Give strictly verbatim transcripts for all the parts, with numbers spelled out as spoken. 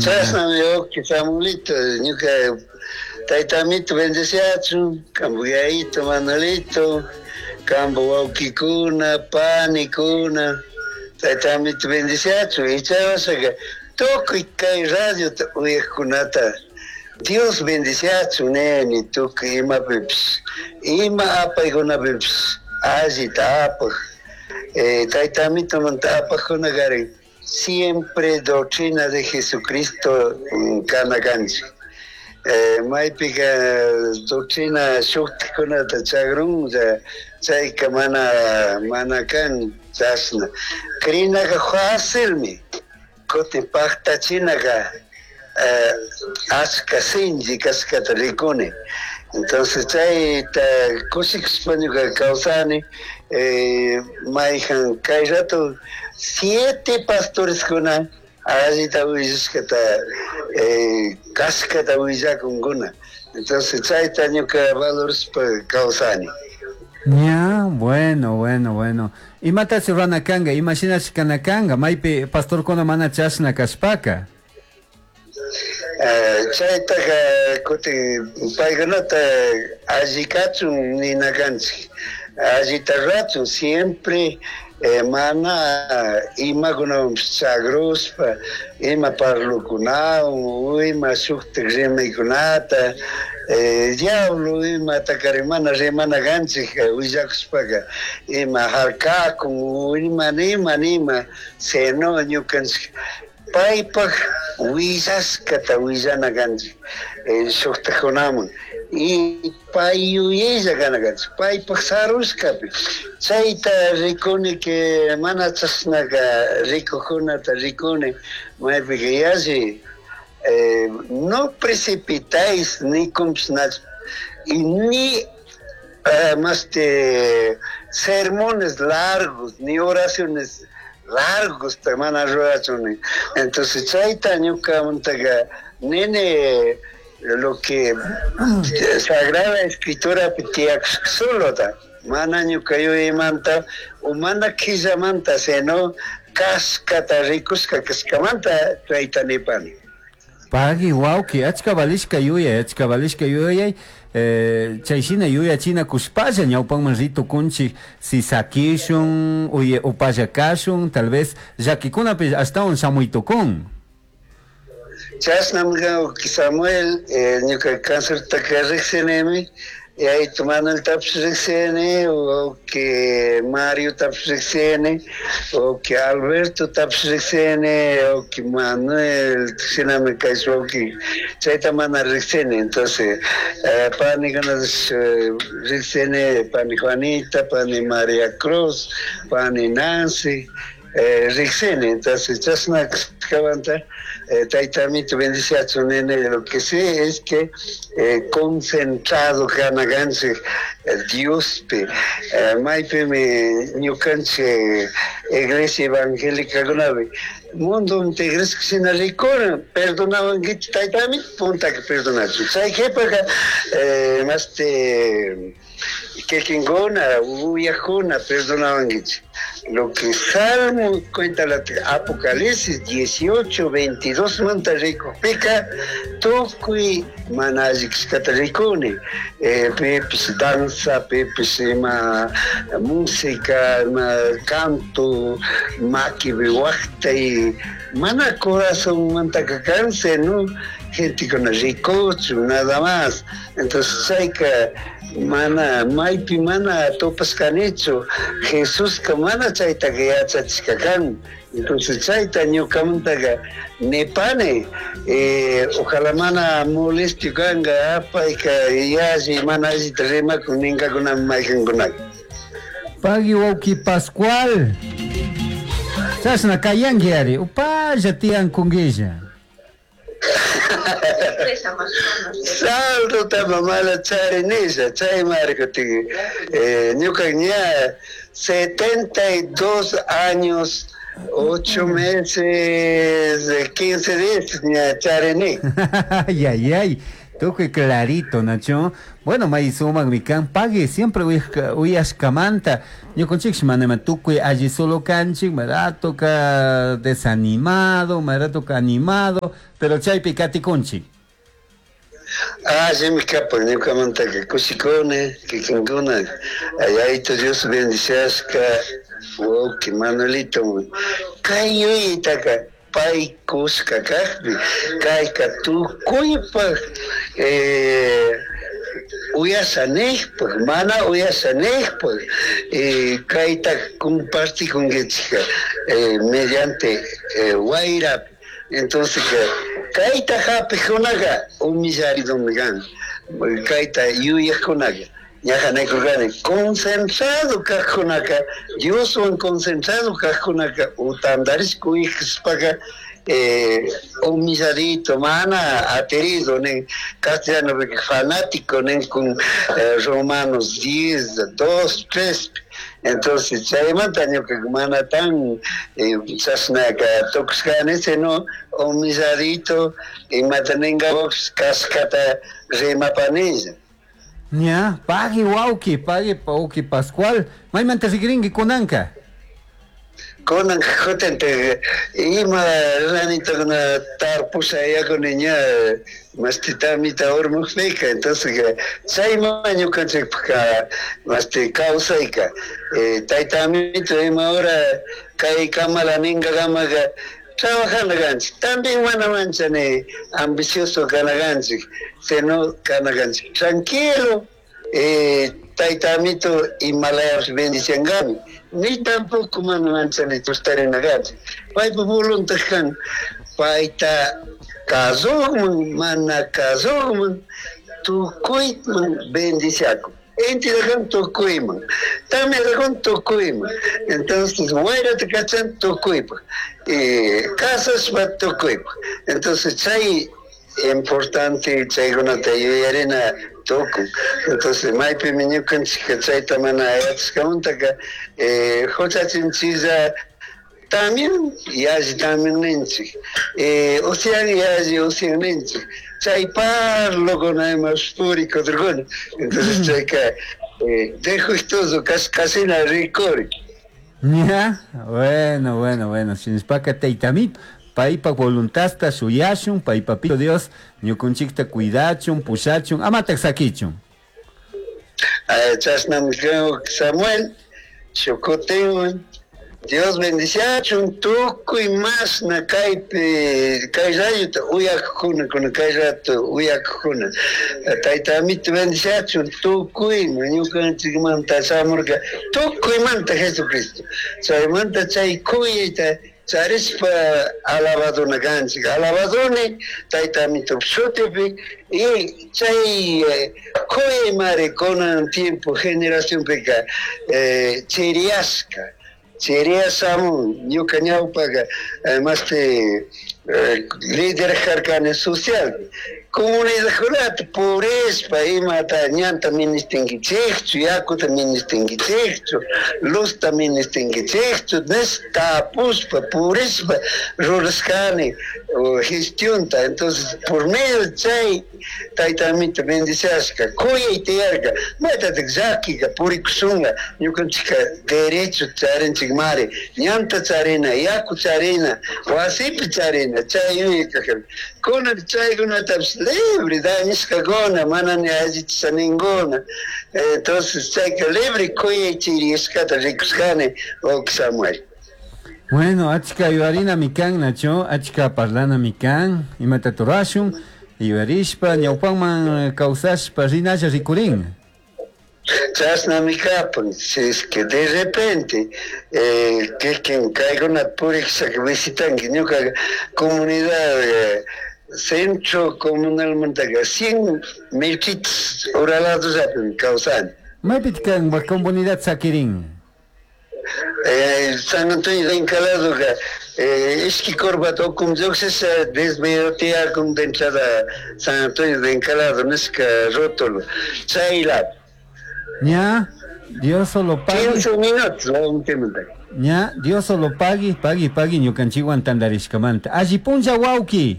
Chashnami, wawki Samuelito, ñuka tayta amito bendeciachun, kambu yayito Manuelito, kambu wawkikuna, panikuna, tayta amito bendeciachun. Y chay wasaka tukuy kay radiota uyaqkunata Dios bendeciachun nini, tukuy imapipish, ima apaykunapipish allita apaq, eh, tayta amitomanta apaqkuna karin siempre doctrina de Jesucristo kana kanchik. Eh, maypika doctrina shuktikunata chagrun, chayka mana mana kan chashna. Crinaka facilmi, kutin paktachinaka eh, achka sinchi kashkata rikuni. Entonces chayta kushikushpa ñuka kawsani, eh, mayjan kay rato siete pastoreskuna allita willashkata, eh, kashkata willakunkuna. Entonces chayta ñuka valorashpa kawsani. Ya, bueno, bueno, bueno. Imatashi rurana kanga, imashinashi kana kanga, maypi pastorkuna mana chashna kashpaka. Eh, chaytaka kutin paykunata alli kachun nina kanchik, allita rurachun siempre, eh, mana imakunawanpish chagrushpa, ima parlukunawan, ima shuktik rimaykunata, eh, diablo imatakari mana rimana kanchik willakushpaka, ima harkakun, ima nima nima, sino ñukanchik paypak willashkata willana kanchik, eh, shuktakkunaman, y pay yuyaylla kana kanchik, paypak sarushkapi. Chayta rikuni que mana chashnaka rikukkunata rikuni, maypika yalli, eh, no precipitáis ni kumshnach, y ni, eh, más de sermones largos, ni oraciones largos te mana rurachun. Entonces chayta ñukamantaka nene lo que Sagrada Escritura tiyak solota, mana ñuka yuyaymanta o mana quillamanta, sino kashkata rikushka kashkamanta chayta nipani. Pagui wawki, achka valishka yuyay, achka valishka yuyay, eh, chayshina yuyachina kushpalla ñawpanman ritukunchik, si sakishun, uye upalla kashun, tal vez llakikunapish ashtawan shamuytukun. Chashnami wawki Samuel, eh, ñuka cancertaka riksinimi, yaytu Manueltapish riksini, wawki Mariotapish riksini, wawki Albertotapish riksini, wawki Manuel, shinami kaysh wawki, chayta mana riksini. Entonces, eh, panikunatash, eh, riksini, pani Juanita, pani Maria Cruz, pani Nancy, eh, riksini. Entonces, chashna kashkamanta, eh, tayta amito bendiciachun nene, lo que sé es que, eh, concentrado kana kanchik, eh, Diospi, eh, maypimi ñukanchik iglesia evangélica kunapi mundo iglesia shina rikuna, perdonawankichik tayta amito, puntaka perdonachun. Chay qhipaka, eh, maste kikinkuna, uyakuna perdonawankichik. Lo que Salmo cuenta la Apocalipsis dieciocho, veintidós manta rikukpika, tukuy mana alli kashkata rikuni. Eh, pipis danza, pipis ima música, ima canto, makipi waqtay, mana corazón mantaka kanse, ¿no? Gente con rikuchu, nada más. Entonces chayka mana maypi mana tupashkanichu, Jesuska mana chaytaka yachachishka kan. Entonces chayta ñukamantaka nipani, eh, ojalá mana molestio kanka, apayka yalli mana allita rimakun ninkakunami maykankunaka. Pagui wawki Pascual, chashna kayanki ari, upalla tiyankunguilla. Saldo mamala charinisha, chay marco eh, ñuka ña setenta y dos años, ocho meses, quince días ña charini. Ay, ay, ay. Tukuy clarito, Nacho. Bueno, may sumakmi kan pagui siempre uyashkamanta. Ñukanchik manama tukuy alli solo kanchik, maratoka desanimado, maratoka animado, pero chaypi katikunchik. Allimi kapan ñukamantaka kushikuni kikinkuna Yayitu Dios bendiciashka wawki Manuelito kay yuyaytaka pay kushka kakpi kayka tukuypak eh, uyasha nishpak mana uyasha nishpak eh, kayta compartikunkichik eh, mediante eh, wayrapi. Entonces kayta hapikkunaqa humillaridumi kan kayta yuyaqkunaqa ñaja nikurkani concentrado kaqkunaka Dioswan concentrado kaqkunaka utandarishka uyashpaka eh, humilladito mana aterido nin castellano fanático nin con eh, Romanos diez, dos, tres. Entonces chaymanta ñuka mana tan eh, chashnaka tukushkani sino humilladito imata ninga kashkata rimapanilla. Ña, pagui wawki, pagui wawki Pascual, maymanta rikrinki kunanka? Kunan jutente ima ranitakuna tarpusha yakuni ña masti tamita urmukpika, entonces chayma ñukanchikpaka masti kawsayka eh, tayta amito ima hora kay kamala ninkakamaka trabajando kanchik, también mana manchani ambicioso kana kanchik, sino kana kanchik tranquilo, eh, tayta amito imalayapis bendiciangami, ni tampoco mana manchani tustarina kanchik, paypa voluntad kan payta kasukman mana kasukman tukuyman bendiciakun. Inti kan tukuyman, tamya kan tukuyman. Entonces wayrata kachan tukuypaq, eh, kasashpa tukuypaq. Entonces chay importante chaykunata yuyarina tukun. Entonces maypimi ñukanchik chayta mana yachashkamantaka eh, huchachinchilla también yalli también ninchik, eh, usian yalli usian ninchik. Chay parlokuna ima purikudurkuna. Entonces chayka eh, dejustoso kashkashina rikuri. Ya, bueno, bueno, bueno, shinashpaka taytamito paypa voluntadta shuyashun, paypapito Dios ñukunchikta cuidachun, pushachun, amatak sakichun. Chashnami Samuel, shukutinwan Dios bendiciachun tukuy mashna kaypi kay rayuta uyakuna kuna kay rato uyakuna tayta amito bendiciachun tukuyman ñukanchikmanta shamurka tukuymanta Jesucristo chaymanta chay kuyayta charishpa alabaduna kanchik alabaduni tayta amito shutipi y chay kuyaymari kunan tiempo generacionpika eh, chiriyashka chiriya shamun ñuka ñawpaka mashti líder karkani social comunidadkunata purishpa imata ñanta ministinkichikchu yakuta ministinkichikchu luzta ministinkichikchu nish tapushpa purishpa rurashkani gestionta. Entonces por medio chay tayta amito bendiciashka kuyay tiyarka maytatik llakika purikushunga ñukanchika derecho charinchikmari ñanta charina yaku charina wasipi charina chay yuyayka kunan chaykunatapish libre dañashkakuna mana ni allichisha ninguna. Entonces chayka libre kuyay chiriyashkata rikushkani wawki Samuel. Bueno, achka yuyarina mikan Nacho, achka parlana mikan, imata turashun, yuyarishpa ñawpanman kawsashpa rinalla rikurin. Chashnami kapan, si es que de repente eh, kikin kaykunata purikshaka visitanki ñuka comunidad eh, centro comunalmantaka cien metritos uraladosllapimi kawsani. Maypitaq kan comunidad sakirin? Eh, San Antonio de Encaladoka eh, ishki corbata ukum lluqsisha desmedio tiyakun de entrada San Antonio de Encalado nishka rótulo chaylapi. Ña, Dios solo pague. quince minutos. Ña, Dios solo pague, pague, pague ñukanchikwan tantarishkamanta. Alli punlla wawki.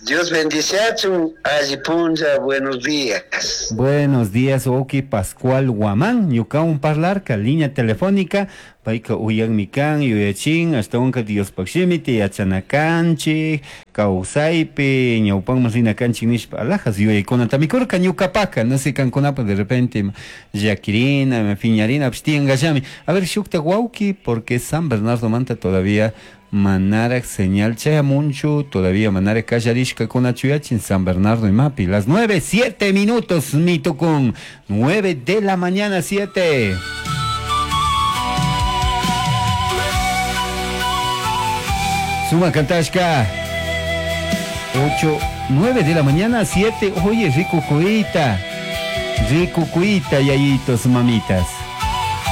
Dios bendiciachun, alli punlla, buenos días. Buenos días, wawki Pascual Guamán, ñukawan parlarka, línea telefónica, payka uyanmi kan, yuyachin, ashtawanka Diospaj shimita yachana kanchik, kawsaypi, ñawpanman rina kanchik nishpa, alajas yuyaykunatami kurka ñukapaka, no sé kankunapa de repente llakirina, piñarina, tiyankallami. A ver, shukta wawki, porque San Bernardo manta todavía manaraj señal chayamunchu, todavía manaraj kallarishkakunachu yachin San Bernardo imapi. Las nueve, siete minutos, mi tukun. Nueve de la mañana, siete. Suma kantashka. Ocho, nueve de la mañana, siete. Oye, rico cuita. Rico cuita, yayitos, mamitas.